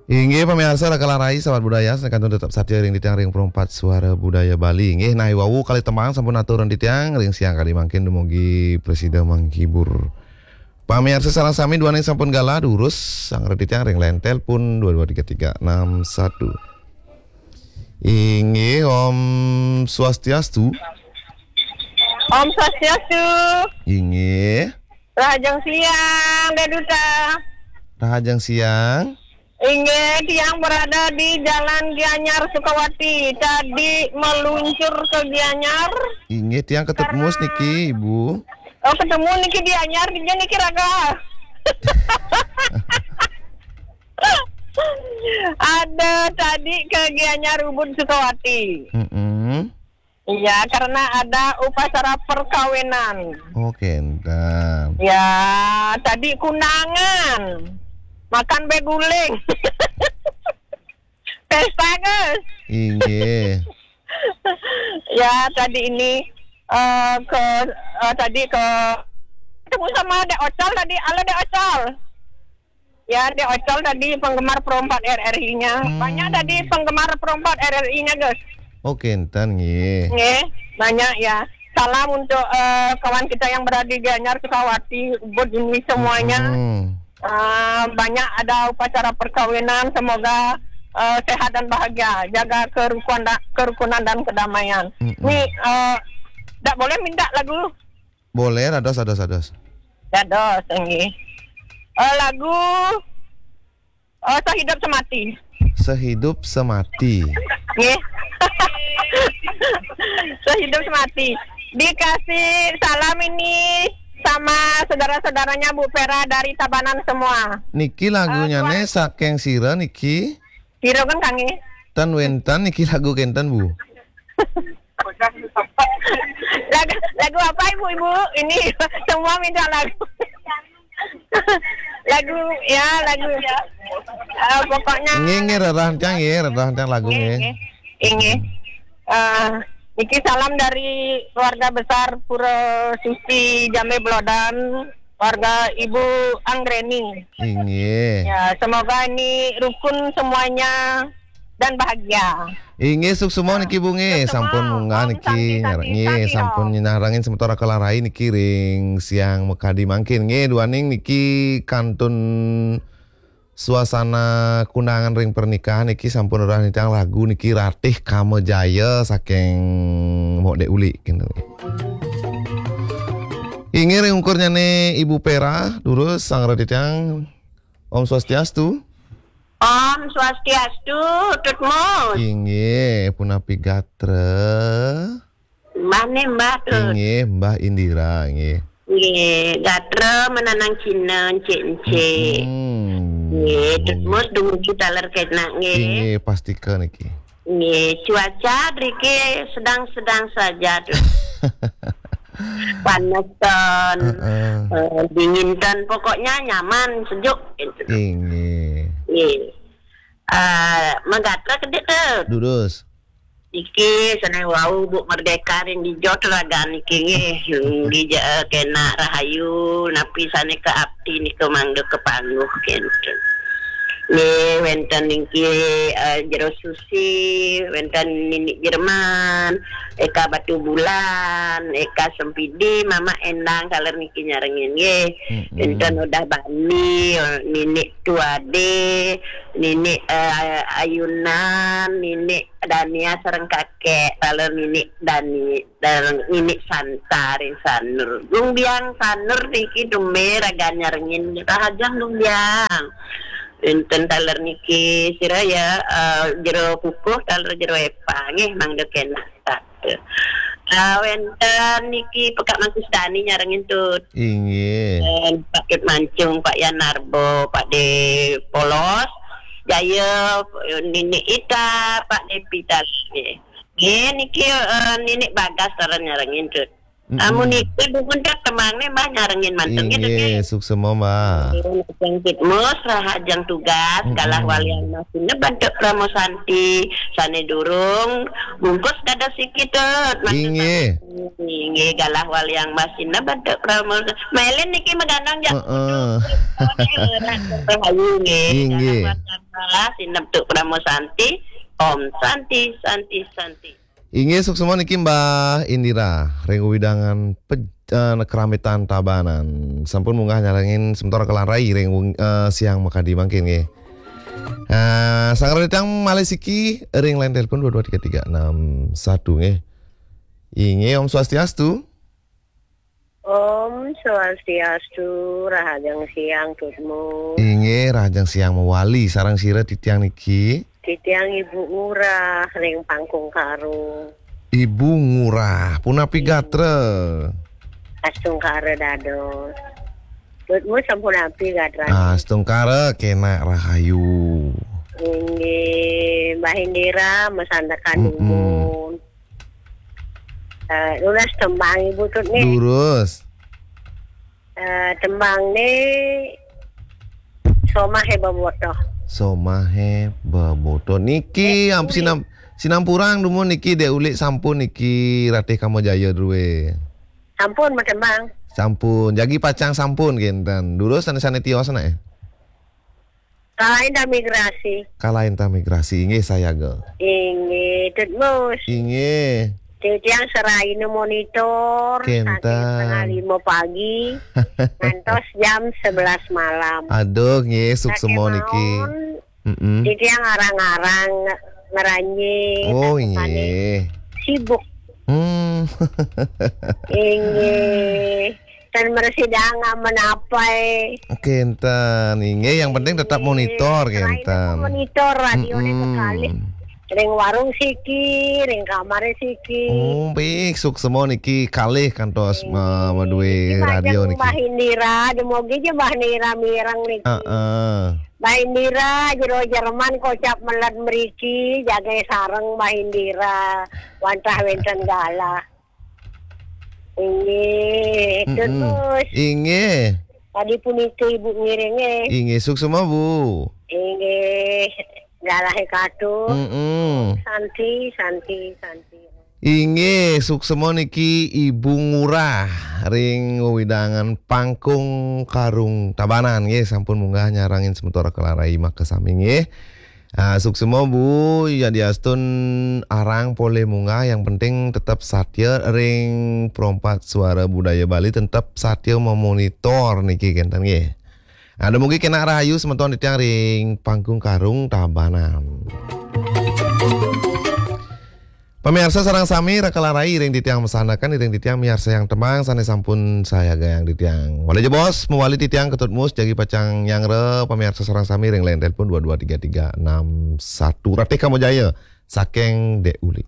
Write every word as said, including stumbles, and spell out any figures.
Inggih pamiarsa, Raka Larai, sahabat budaya, sané kantun tetep satia ring titiang ring Perempat Suara Budaya Bali. Inggih, nah, wau kalih tembang sampun aturang titiang ring siang kadi mangkin, dumugi prasida menghibur. Pamiarsa sareng sami, duaning sampun galah, durus sareng titiang ring line telepon dua dua tiga tiga enam satu. Inggih, Om Swastiastu. Om Swastiastu. Inggih. Rahajeng siang, Dé Duta. Rahajeng siang. Inggih, tiang berada di Jalan Gianyar Sukawati. Tadi meluncur ke Gianyar. Inggih, tiang ketemu niki, Ibu. Oh, ketemu niki di Gianyar, di niki, Raka. Ada tadi ke Gianyar Ubud Sukawati. Mm-mm. Iya, karena ada upacara perkawinan. Oh, kénten. Ya, tadi kundangan. Makan bé guling. Pesta, Gus. Inggih. Ya, tadi ini, eh, ke, eh, tadi ke, ketemu sama Dek Ocol tadi. Halo, Dek Ocol. Ya, Dek Ocol tadi penggemar Pro empat R R I-nya. Hmm. Banyak tadi penggemar Pro empat R R I-nya, Gus. Oh, kénten, nggih. Nggih, banyak ya. Salam untuk, eh, kawan kita yang berada di Gianyar, Sukawati, Ubud ini semuanya. Hmm. Eh, banyak ada upacara perkawinan, semoga, eh, sehat dan bahagia, jaga kerukunan, kerukunan dan kedamaian. Mm-mm. Nih, eh, ndak boleh minta lagu? Boleh, dados, dados, dados. Dados, nggih. Eh, lagu, eh, Sehidup Semati. Sehidup Semati. Nggih. Sehidup Semati. Dikasih salam ini sama saudara-saudaranya Bu Vera dari Tabanan semua. Niki lagunya, eh, nih, saking sira niki? Sira kan kanggé. Ten wénten niki lagu kénten, Bu. Lagu, lagu apa, Ibu-ibu? Ini semua minta lagu. Lagu, ya, lagu. Eh, pokoknya nggih, nggih, rerah tiang, nggih, rerah tiang lagu, nggih, nggih. Nggih. Eh, niki salam dari keluarga besar Pura Suci Jambe Blodan, keluarga Ibu Anggreni. Inggih. Ya, semoga ini rukun semuanya dan bahagia. Inggih, suksma niki, Bu, nggih. Suksma. Sampun munggah niki, nggih, sampun nyarengin semeton Raka Larai niki ring siang makadi mangkin, nggih. Duaning niki kantun suasana kundangan ring pernikahan niki, sampun rerah nitihang lagu niki, Ratih Kama Jaya saking Mok Dek Uli, kénten. Inggih, ring ungkurnyané Ibu Pera, durus sareng titiang. Om Swastiastu. Om Swastiastu, Tut Mus. Inggih, punapi gatra? Mbah né, Mbah, Tut. Inggih, Mbah Indira, nggih. Nggih, gatra menanang Cina, encik-encik. Hmm. Nggih, Tut Mus, dumugi taler kénak, nggih. Inggih, pastika niki. Nggih, cuaca driki sedang-sedang saja, Tut. Panesan, heeh, eh, dinginten, pokoknya nyaman, sejuk, gitu. Inggih. Nggih. Eh, magatra kedit, Tut. Durus. Niki sané wau Bu Merdeka ring dija raga niki nggih. Dija, eh, kénak rahayu, napi sané kaapti nika mangda kapangguh kénten. Nggih, wénten niki, eh, Jero Susi, wénten Nini Jerman, Eka Batubulan, Eka Sempidi, Mama Endang, taler niki nyarengin nggih. Mm-mm. Wénten Udah Bani, Nini Tuade, Nini, eh, Ayunan, Nini Dania sareng Kakek, taler Nini Dani, taler Nini Santa ring Sanur. Luh Biang Sanur niki tumbén raga nyarengin, rahajeng Luh Biang. Wénten taler niki sira ya, eh, Jero Kukuh, taler Jero Epa, nggih, mangda kénak. Ah, wénten niki Pekak Mangku Sedani nyarengin, Tut. Inggih. Wénten Pak Tut Mancung, Pak Yan Narbo, Pak De Polos, Jaya, Nini Ita, Pak De Pita, nggih. Nggih, niki, eh, Nini Bagas taler nyarengin, Tut. Mm-mm. Amun niki dumun tak temang né, Mbah, nyarengin manten, nggih, Tut, nggih, nggih. Suksma, Mbah. Nggih, Tut Mus, rahajeng tugas, galah walian Mas Sineb antuk Pramosanti, sané durung bungkus dados siki, Tut. Inggih. Inggih, galah walian Mas Sineb antuk Pramosanti. Mélin niki magandang jak. Heeh. Rahayu nggih. Inggih. Galah walian Salah, sineb tu Parama Santi. Om Santi, Santi, Santi. Inggih, suksma niki Mbah Indira, ring wewidangan pej-, eh, Kramaitan Tabanan. Sampun munggah nyarengin semeton Raka Larai ring weng-, eh, siang makadi mangkin nggih. Eh, sareng titiang malih siki ring line telepon dua dua tiga tiga enam satu nggih. Inggih, Om Swastiastu. Om Swastiastu, rahajeng siang, Tutmu. Inggih, rahajeng siang mawali. Sareng sira titiang niki? Titiang Ibu Ngurah ring Pangkung Karung. Ibu Ngurah, punapi gatra? Astungkara dados. Tutmu sampun api gatra? Astungkara kenak rahayu. Inggih, Mbah Indira masandekan Mm-mm. dumun. Eh, nunas tembang Ibu Tut nih. Durus. Eh, tembang nih Somahe Bebotoh. Somahe Bebotoh. Niki Eh, am-, Ulik. Sinam-, sinampurang dumun niki Dek Ulik sampun niki Ratih Kamajaya druwe. Sampun matembang. Sampun. Jagi pacang sampun kenten. Durus sane-sane tios anak eh. Kalahin ta migrasi. Kalahin ta migrasi, inggih sayaga. Inggih, Tutmus. Inggih. Titiang seraina monitor, kenten, saking setengah lima pagi, ngantos jam sebelas malam. Aduh, nggih, suksma niki. Saking mawon, Mm-mm. Titiang arang-arang nge-, ngranjing, oh, sasukane inggih. Sibuk. Hmm. Inggih. Ten mresidang amen apai. Kenten, inggih, yang penting tetap monitor, selain kenten. Monitor radio nih, mm-mm, kekalih. Ring warung siki, ring kamare siki. Oh, baik, suksma niki kalih kantos, eh, ma-, maduwe radio niki. Mbah Indira, dumogi ja Mbah Indira mireng niki. Heeh. Mbah Indira, jero Jerman kocap meled mriki, jage sareng Mbah Indira, wantah wenten galah. Inggih, mm-mm. Terus. Inggih. Tadi punika Ibu ngiring, eh. Inggih, suksma, Bu. Inggih, galahe katu. Mm-mm. Santi, santi, santi. Inggih, suksma niki Ibu Ngurah ring wewidangan Pangkung Karung Tabanan, nggih, sampun munggah nyarengin semeton Raka Larai makasami, nggih. Ah, suksma, Bu, yadiastun arang polih munggah, yang penting tetep satia ring Perempat Suara Budaya Bali, tetep satia memonitor niki kenten nggih. Ah, dumugi kenak rahayu semeton titiang ring Pangkung Karung Tabanan. Pamirsa sareng sami, Raka Larai ring titiang masandekan, ring titiang miarsayang tembang sane sampun sayagayang titiang. Malih jebos, mawali titiang Ketut Mus, jagi pacang nyanggra pamirsa sareng sami ring line telepon dua dua tiga tiga enam satu. Ratih Kamajaya saking Dek Ulik.